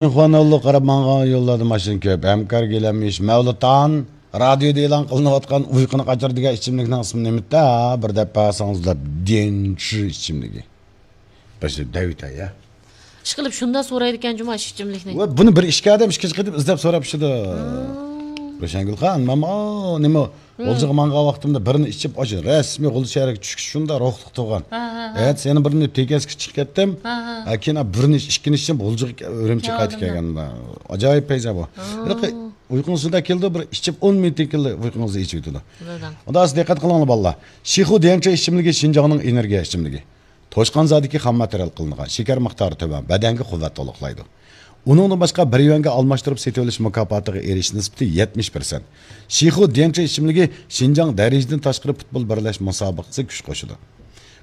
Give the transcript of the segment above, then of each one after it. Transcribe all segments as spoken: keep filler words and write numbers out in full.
خۇانوللۇق قاراپ ماڭغان يوللاردا ماشىنا كۆپ. ھەمكار گىلەمىش، مەۋلۇتان، رادىيودا ئېلان قىلىنىۋاتقان ئۇيقۇنى قاچۇرىدىغان ئىچىملىكنىڭ ئىسمى نېمىتى؟ بىر دەپ بەرسىڭىز دەپ، دېنچى ئىچىملىكى. بەشى دەۋىتە، يا. ئىشقىلىپ شۇنداق سورايدىكەن جۇما ئىچىملىكنى. ۋە بۇنى بىر ئىككى ئادەم ئىككىنچى قېتىم ئىزدەپ سوراپ چىدى. روشەنگۈل خان، ماما، ئو، نېمە، غۇلجىغا ماڭغان ۋاقتىمدا بىرنى ئىچىپ، ئاشۇ رەسمىي غۇلجا شەھىرىگە چۈشۈش شۇنداق روھلۇق تۇرغان. ھە، ھە، ھە. ئەتىسى يەنە بىرنى تېكەسكە چىقىپ كەتتىم. ھە، ھە. ھە، كېيىن بىرنى ئىچ-، ئىككىنچى ئىچىپ غۇلجىغا، ئۈرۈمچىگە قايتىپ كەلگەن. ئاجايىپ پەيزا بۇ. ھېلىقى ئۇيقۇڭىزدا كېلىدۇ، بىر ئىچىپ ئون مىنۇتتىن كېيىن ئۇيقۇڭىزدا ئېچىۋېتىدۇ. ئۇندا سىز دىققەت قىلىڭلار، بالىلار. شىخۇ ديەنچې ئىچىملىكى شىنجاڭنىڭ ئېنېرگىيە ئىچىملىكى. توشقان زادىكى خام ماتېرىيال قىلىنغان، شېكەر مىقدارى تۆۋەن، بەدەنگە قۇۋۋەت تولۇقلايدۇ. ئۇنىڭدىن باشقا، بىر يۈەنگە ئالماشتۇرۇپ سېتىۋېلىش مۇكاپاتىغا ئېرىشىش نىسبىتى يەتمىش پىرسەنت. شىخۇ ديەنچې ئىچىملىكى شىنجاڭ دەرىجىدىن تاشقىرى پۇتبول بىرلەش مۇسابىقىسى كۈچ قوشىدۇ.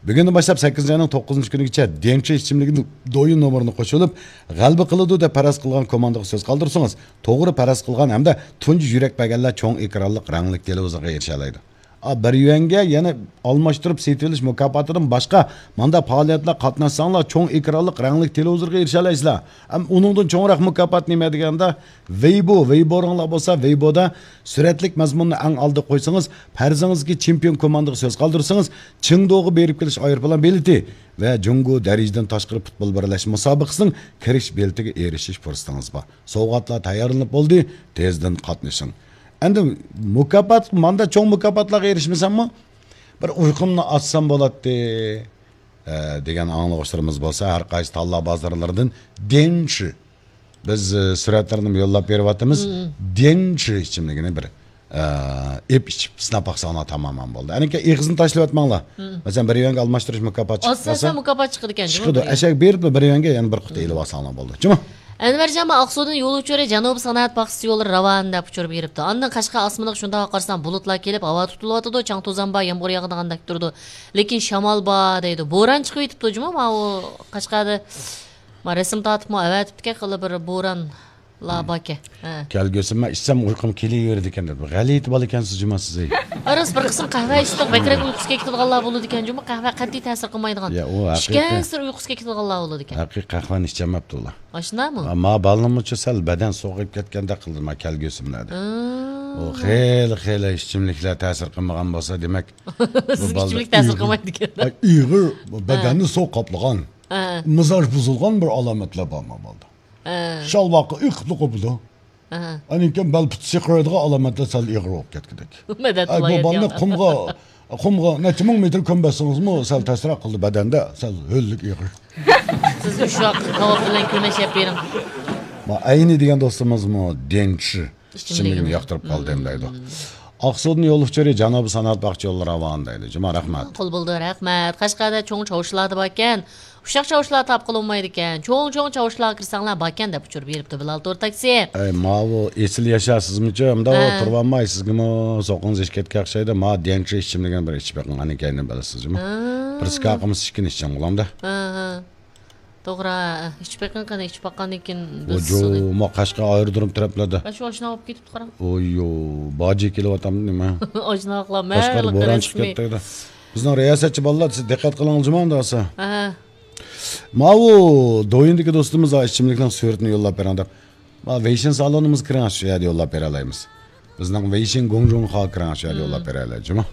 بۈگۈندىن باشلاپ سەككىزىنچى ئاينىڭ توققۇزىنچى كۈنىگىچە ديەنچې ئىچىملىكىنىڭ دويىن نومۇرىنى قوشۇلۇپ، غەلىبە قىلىدۇ دەپ پەرەز قىلغان كوماندىغا سۆز قالدۇرسىڭىز، توغرا پەرەز قىلغان ھەمدە تۇنجى يۈرەك بەرگەنلەر چوڭ ئېكرانلىق رەڭلىك تېلېۋىزورغا ئېرىشەلەيدۇ. ئا، بىر يۈەنگە يەنە ئالماشتۇرۇپ سېتىۋېلىش مۇكاپاتىدىن باشقا ماندا پائالىيەتلەر قاتناشساڭلار، چوڭ ئېكرانلىق رەڭلىك تېلېۋىزورغا ئېرىشەلەيسىلەر. ئەم، ئۇنىڭدىن چوڭراق مۇكاپات نېمە دېگەندە، ۋېيبو، ۋېيبوڭلار بولسا، ۋېيبودا سۈرەتلىك مەزمۇننى ئەڭ ئالدىغا قويسىڭىز، پەرىزىڭىزدىكى چېمپىيون كوماندىغا سۆز قالدۇرسىڭىز، چېڭدۇغا بېرىپ كېلىش ئايروپىلان بېلىتى ۋە جۇڭگو دەرىجىدىن تاشقىرى پۇتبول بىرلەشمە مۇسابىقىسىنىڭ كىرىش بېلىتىگە ئېرىشىش پۇرسىتىڭىز بار. سوۋغاتلار تەييارلىنىپ بولدى، تېزدىن قاتنىشىڭ. ئەندى مۇكاپات، ماندا چوڭ مۇكاپاتلارغا ئېرىشمىسەممۇ، بىر ئۇيقۇمنى ئاچسام بولاتتى، ئە، دېگەن ئاڭلىغۇچىلىرىمىز بولسا، ھەر قايسى تاللا بازارلىرىدىن دېنچى، بىز، ئە، سۈرەتلەرنى يوللاپ بېرىۋاتىمىز. دېنچى ئىچىملىكىنى بىر، ئە، ئېپ ئىچىپ سىناپ باقساڭلار تامامەن بولدى. ئەنىكى ئېغىزنى تاشلىۋەتمەڭلار. مەسىلەن، بىر يۈەنگە ئالماشتۇرۇش مۇكاپاتى چىقىپ قالسا، ئالسا مۇكاپات چىقىدىكەن، چىقىدۇ. ئەشەگە بېرىپلا بىر يۈەنگە يەنە بىر قۇتا ئېلىۋالساڭلار بولدى. جۇمۇ. ئەنۋەرجان، مانا ئاقسۇدىن يول ئۇچۇرى جەنۇبىي سانائەت باغچىسى يولى راۋان دەپ ئۇچۇر بېرىپتۇ. ئاندىن قەشقەر ئاسمىنىغا شۇنداق قارىسام، بۇلۇتلار كېلىپ، ھاۋا تۇتۇلۇۋاتىدۇ، چاڭ-توزان بار، يامغۇر ياغىدىغاندەك تۇرىدۇ. لېكىن شامال بار دەيدۇ. بوران چىقىۋېتىپتۇ جۇمۇ، ماۋۇ قەشقەردە. ما رەسىم تارتىپمۇ ئەۋەتىپتىكەن، خېلى بىر بورانلار باركەن. ھە. كەلگۈسى مەن ئىچسەم ئۇيقۇم كېلىۋېرىدىكەن دەپ. غەلىتە بالا ئىكەنسىز جۇمۇ سىز. ئە، راست، بىر قىسىم قەھۋە ئىچسەك بەكرەك ئۇيقۇسى كېلىپ كېتىدىغانلار بولىدىكەن جۇمۇ، قەھۋە قەتئىي تەسىر قىلمايدىغان. يا، ئۇ ھەقىقەت. ئىچكەنسېرى ئۇيقۇسى كېلىپ كېتىدىغانلار بولىدىكەن. ھەقىقىي قەھۋەنى ئىچەلمەپتۇ ئۇلار. ئاشۇنداقمۇ؟ ما، ما بالىنىمچە سەل بەدەن سوغۇپ كەتكەندەك قىلدى ما كەلگۈسىملەردە. ئۇ خېلى، خېلى ئىچىملىكلەر تەسىر قىلمىغان بولسا، دېمەك، بۇ سىزگە بالىلار ئىچىملىك تەسىر ئېغىر، قىلمايدىكەن. ئا، ئېغىر، بەدەننى سوغۇق قاپلىغان، مىزاج بۇزۇلغان بىر ئالامەتلەر بارمۇ بالىدا؟ شالۋاققا ئېقىپلا قوپىدۇ. ئاندىن كېيىن بەل پۇتى سىقىرايدىغان ئالامەتلەر سەل ئېغىر بولۇپ كەتكۈدەك. مەدەت ئاي، بۇ ئاللاھى بالىنى يەتكەن. قۇمغا، قۇمغا نەچچە مىڭ مېتىر كۆمۈۋەتسىڭىزمۇ سەل تەسرەك قىلىدۇ بەدەندە، سەل ھۆللۈك ئېغىر. سىز ئۇششاق كاۋاپ بىلەن كۆمەچ يەپ بېرىڭ. ما ئەينى دېگەن دوستىمىزمۇ دېنچى ئىچىملىكىنى ياقتۇرۇپ قالدىم دەيدۇ. ئاقسۇدىن يول ئۇچۇرى جەنۇبىي سانائەت باغچە يولى راۋان دەيدۇ. جۇما، رەھمەت. قول بولدى، رەھمەت. قەشقەردە چوڭ چاۋشىلاردا باركەن. ئۇششاق چاۋشىلار تاپقىلى بولمايدىكەن. چوڭ-چوڭ چاۋشىلارغا كىرسەڭلار باركەن دەپ ئۇچۇر بېرىپتۇ بىلال تور تاكسى. ئەي، ماۋۇ ئېسىل ياشا سىزمۇچۇ؟ ئەمدى ئۇ تۇرۇۋالماي، سىزگىمۇ سوقىڭىز ئېشىپ كەتكەن ئوخشايدۇ. ما ديەنچى ئىچىملىكىنى بىر ئىچىپ بېقىڭ، ئاندىن كەينىدىن بىلىسىز جۇمۇ. بىر سكاقىمىز ئىككىنى ئىچىڭ بولامدۇ؟ توغرا، ئىچىپ بېقىڭ قېنى، ئىچىپ باققاندىن كېيىن بىلىسىز ئۇنى. ما قەشقەر ئايرودروم تەرەپلەردە. شۇ ئاشنا بولۇپ كېتىپتۇ قاراڭ. ئوييو، باجى كېلىۋاتامدۇ نېمە؟ ئاشناقلار، قەشقەر مەللىقى بوران چىقىپ رەسمىي. كەتتى. بىزنىڭ رىياسەتچى بالىلار، سىز دىققەت قىلىڭىز جۇما ئەمدى بولسا. ماۋۇ دويىندىكى دوستىمىز ئىچىملىكنىڭ سۈرىتىنى يوللاپ بېرىڭ دەپ. ما ۋېيشىن سالونىمىزغا كىرىڭ، شۇ يەردە يوللاپ بېرەلەيمىز. بىزنىڭ ۋېيشىن گۇڭجۇڭخاغا كىرىڭ، شۇ يەردە يوللاپ بېرەلەيمىز جۇما.